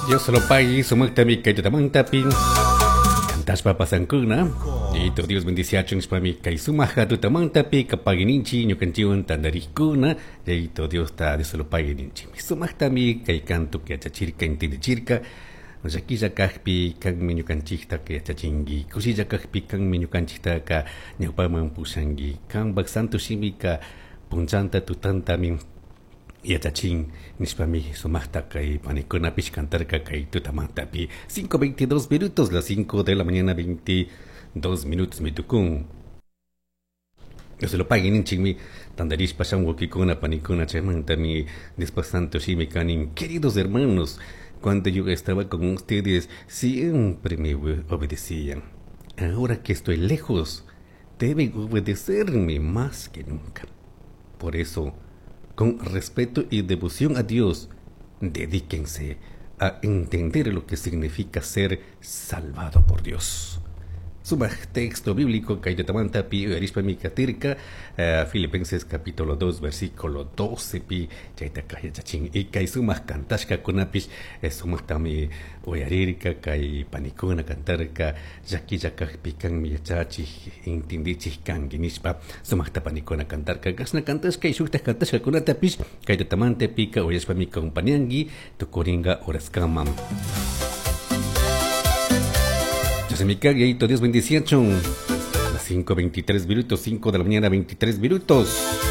Dios lo pague sumaqtami kay tutamantapi kantashpa pasankuna. Yayito Dios bendiciachun nishpami kay sumaq tutamantapi kapaguininchik ñukanchikwan tantarikuna. Yayito Diosta Dios lo pague ninchikmi. Sumaqtami kay canto yachachirka entendichirka. Llaquilla kajpi kanmi ñukanchiktaka yachachinki. Kushilla kajpi kanmi ñukanchiktaka ñawpaman pushanki. Kanpak santo shimika punchanta tutantami yachachin nishpami sumaqta kay panikunapish cantarka kay tutamantapi. 5:22 minutos, las 5 de la mañana 22 minutos mi tukun. Dios lo pague ninchikmi tantarishpa shamuwakikuna panikuna chaymantami Diospak santo shimi kanin. Queridos hermanos, cuando yo estaba con ustedes siempre me obedecían. Ahora que estoy lejos, deben obedecerme más que nunca. Por eso, con respeto y devoción a Dios, dedíquense a entender lo que significa ser salvado por Dios. Sumaq texto bíblico kay tutamantapi uyarishpami katirka Filipenses capítulo 2 versículo 12 pi chaytaka yachachin y kay sumaq kantashkakunapish sumaqtami uyarirka kay panikuna cantarka llaquilla kajpi kanmi yachachik entendichik kanki nishpa sumaqta panikuna cantarka kashna kantashka y shuktaj kantashkakunatapish kay tutamantapika uyashpami compañanki tukurinka horaskama. Se me cague, Dios bendiciachun. Las 5:23 minutos, 5 de la mañana, 23 minutos.